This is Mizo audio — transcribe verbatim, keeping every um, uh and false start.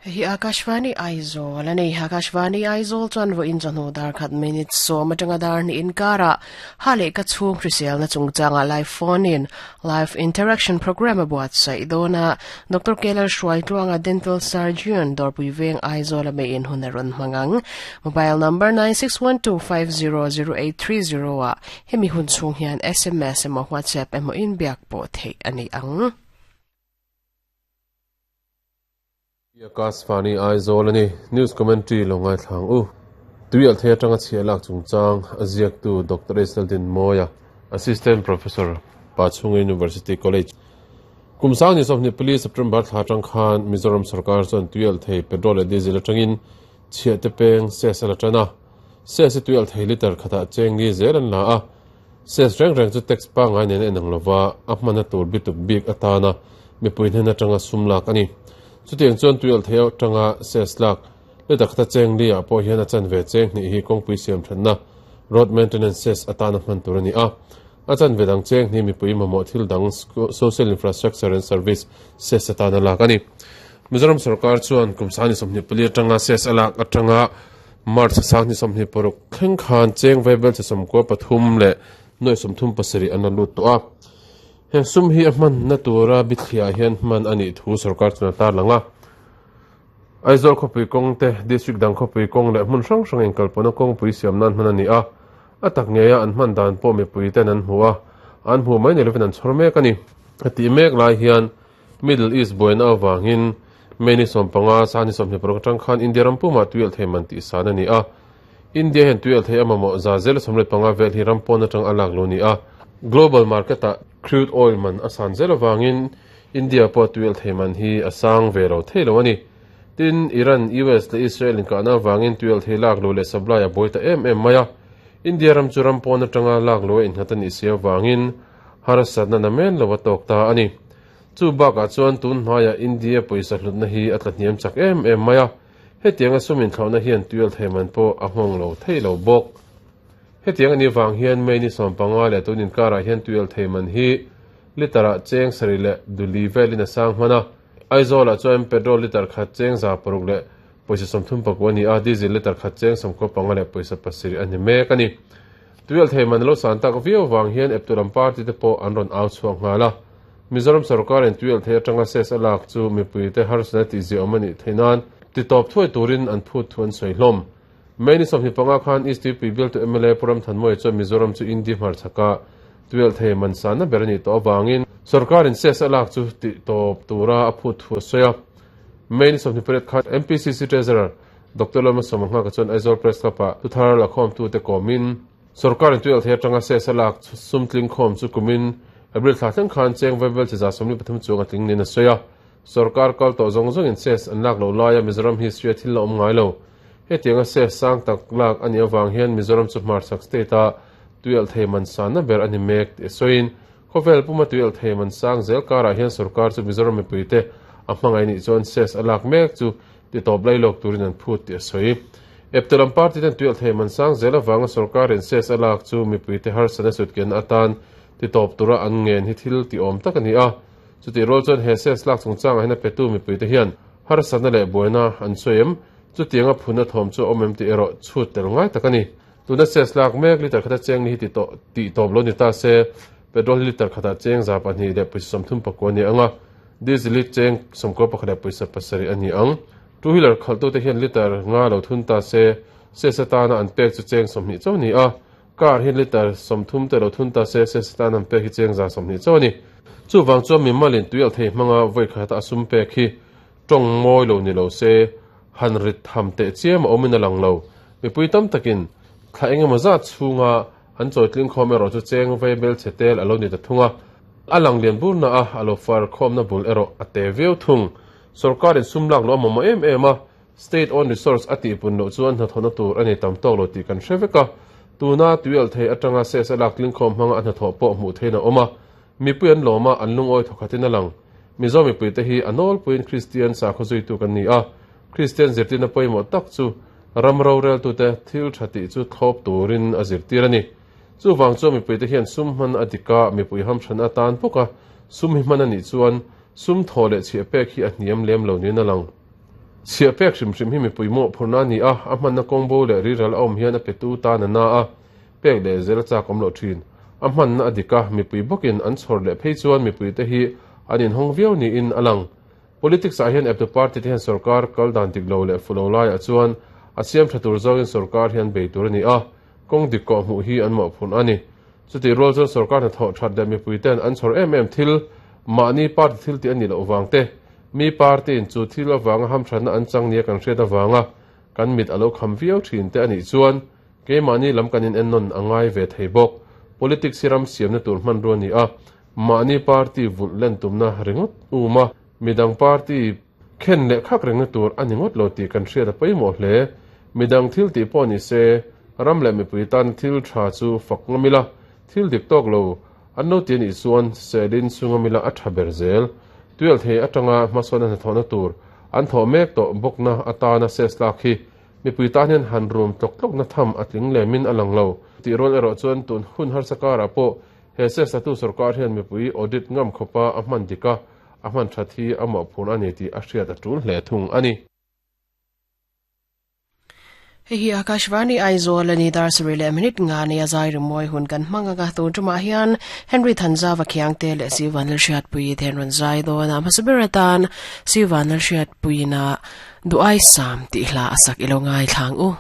Hi Akashvani Aizawl ani Akashvani Aizawl chuan vo in chawhnu dar khat minute sawm atanga dar ni inkara hale ka chhung hrisel na chungchanga live phone in live interaction program a buatsaih dawna Doctor Keller Hruai Tluanga dental surgeon Dawrpui Veng Aizawl a me in hun a rawn hmangang mobile number nine six one two five zero zero eight three zero a hemi hun chhung hian S M S emaw WhatsApp emaw in biak pawh theih ani ang. Akashvani Aizawl ani news commentary longai thlang u tuial the atanga chialak chungchang aziak tu Doctor Esaldin Moya Assistant Professor Pachhunga University College kumsang ni somni police September thla tang khan Mizoram sarkar chon tuial the petrol diesel atangin chia te peng se sala tana se se tuial the liter khata cheng ni zeran la a se reng reng chu tax pa ngai nen enang lova a hmana tur bituk bik atana mipuin hena tanga sumlak ani chutiang chuan tuial thei atanga ses lak le dakhta cheng li a pawh hian a chan ve cheng ni hi kawngpui siam thanna road maintenance ses atana hman tur ani a a chan ve dang cheng ni mipui mamawh thil dang social infrastructure and service ses atana lak ani Mizoram sarkar chuan kumsani sawmhnih pali atanga ses alak atanga March sangni sawmhnih paruk thleng khan cheng vaibel che sawmkua pathum leh nuai sawmthum pasarih an la lut tawh a he sum hi a hman na tura bithliah hian hman ani thu sarkar chuna tar langa Aizawl khawpui kawng te district dang khawpui kawng leh hmun hrang hrang in kalpawna kawngpui siam nan hman ani a a tak ngeia an hman dan pawh mipui ten an hmu a an hmu mai ni lovin an chhawr mek ani a tih mek lai hian Middle East buaina awangin mei sawm panga sani sawmhnih paruk atang khan India ram pumah tuial thei man tih san ani a India hian tuial thei a mamawh za zel sawmriat panga vel hi ram pawn atang a lak lo ni a global market a crude oil man a san zel awangin India pawh tuial thei man hi a sang ve lo thei lo ani tin Iran U S le Israel in kahna awangin tuial thei lak lo leh supply a buai ta em em mai a India ram chu ram pawn atanga lak lo a innghat ani si awangin harsatna namen lo a tawk ta ani chu bakah chuan tun hmaiah India pawisa hlutna hi a tla hniam chak em em mai a hetiang a sumin thlauhna hian tuial thei man pawh a nghawng lo thei lo bawk hetiang ani wang hian mei ni sawm panga leh tun inkarah hian tuial thei man hi litera cheng sarih leh duli velin a sang hman a Aizawlah chuan petrol liter khat cheng za paruk leh pawisa sawmthum pakua ani a diesel liter khat cheng sawmkua panga leh pawisa pasarih ani mek ani tuial thei man lo san tak viau wang hian epturam party te pawh an rawn au chhuak nghal a Mizoram sarkar in tuial thei atanga ses a lak chu mipui te harsatna tih ziah ani theinan ti tawp thuai turin an phut thu an sawi hlawm mei ni sawmhnih panga khan East U P bill to M L A Puram Thanmawia chuan Mizoram chu India hmar chhaka tuial thei man sanna ber ani tawh awangin sarkar in ses a lak chu ti tawp tura a phut thu a sawi a mei ni sawmhnih pariat khan M P C C Treasurer Doctor Lama Sawmanga ka chuan Aizawl Press Club ah thuthar la khawm tu te kawmin sarkar in tuial thei atanga ses a lak sumtling khawm chu kumin April thla thleng khan cheng vaibel chi za sawmli pathum chuang a tling nin a sawi a sarkar kal tawh zawng zawng in ses an lak lo laia Mizoram history a thil la awm ngai lo hetiang a ses sang tak lak ani awang hian Mizoram chu hmar chhak state a tuial thei man sanna ber ani mek ti sawiin khawvel puma tuial thei man sang zel karah hian sarkar chu Mizoram mipui te a hmangai nih chuan ses a lak mek chu ti tawp lai lawk turin an phut ti a sawi eptulam party ten tuial thei man sang zel awanga sarkar in ses a lak chu mipui te harsatna sutken atan ti tawp tura an ngen hi thil ti awm tak ani a chuti rol chuan he ses lak chungchang ah hian a petu mipui te hian harsatna leh buaina an sawi chutiang a phuna thawm chu awm em ti erawh chhut tel ngai tak ani tuna ses lak mek liter khata cheng ni hi ti tawh ti tawp lo ni ta se petrol liter khata cheng za pahnih leh pawisa sawmthum pakua ani anga diesel cheng sawmkua pakhat leh pawisa pasarih ani ang two wheeler khaltu te hian liter nga lo thun ta se ses atana an pek chu cheng sawmhnih chaw ni a car hian liter sawmthum te lo thun ta se ses atana an pek hi cheng za sawmhnih chaw ani chu wang chuan mi malin tuial thei hmanga voi khata a sum pek hi tawng mawi lo ni lo se han rit tham te chiam a awmin a lang lo mipui tam takin thla engemaw zat chhunga an chawitling khawm erawh chu cheng vaibel che tel a lo ni ta thunga a lang lian bur na a a lo far khawmna bul erawh a te viau thung sarkar in sum lak lo a mamawh em em a state owned resource a tih pun loh chuan hnathawhna tur ani tam tawk lo tih kan hre vek a tuna tuial thei atanga ses a lak tling khawm hmanga a hnathawh pawh hmuh thein a awm a mipui an lawma an lungawi thawkhatin a lang Mizo mipui te hi a nawlpuiin Christian sakhaw zuitu kan ni a Christian zirtirna pawimawh tak chu ram rorel tu te thil tha tih chu thlawp turin a zirtir ani chu wang chu mipui te hian sum hman a dika mipui ham than atan bawk a sum hi hman ani chuan sum thaw leh chhiah pek hi a hniam lem lo niin a lang. Chhia pek hrim hrim hi mipui mawh phurna a ni a, a hmanna kawng bo leh riral a awm hian a petu tan a na a, pek leh zel a chak awm loh thin. A hmanna a dik a, mipui bawkin an chhawr leh phei chuan mipui te hi an inhawng viau niin a lang. Politics ah hian eptu party te hian sorkar kal dan dik lo leh fulo laiah chuan a siam tha tur zawngin sorkar hian bei tur a ni a, kawng dik kawh hmuh hi an mawhphurh a ni. Chutih rual chuan sorkar hnathawh that leh mipui ten an chhawr em em thil, mahni party thil tih a nih loh vang te, mi party in chu thil avanga hamthatna an chang nia kan hriat avanga kan mit a lo kham viau thin te a nih chuan keimahni lam kan in ennawn a ngai ve thei bawk. Politics hi ram siamna tur hmanrua a ni a, mahni party vulh len tumna ringawt um a, midang party khen leh khak rengna tur a ni ngawt lo tih kan hriat a pawimawh hle. Midang thil tih pawh ni se, ram leh mipui tan thil tha chu fak ngamila, thil dik tawk lo an lo ti a nih chuan selin chungamila a tha ber zel. Tuel thei atanga hmasawn a hnathawhna tur an thawh mek tawh bawkna atana ses lak hi mipui tan hian han rum tlawk tlawkna tham a tling lemin a lang lo. Tih rual erawh chuan tun hun harsa karah pawh he ses latu sorkar hian mipui audit ngam khawpa a hman dik a, a hman that hi a mawhphurh a ni tih a hriat a tul hle thung a ni. Hei hi Akashvani Aizawl a ni dar sarih leh minute nga nia zai rimawi hun kan hmang anga tun tumah hian Henry Thanzava Khiangte leh Sivan Lalhriatpui te an rawn zai dawn a, hmasa ber atan Sivan Lalhriatpuiin a Duh Ai Sam tih hla a sak ilo ngai thlang u.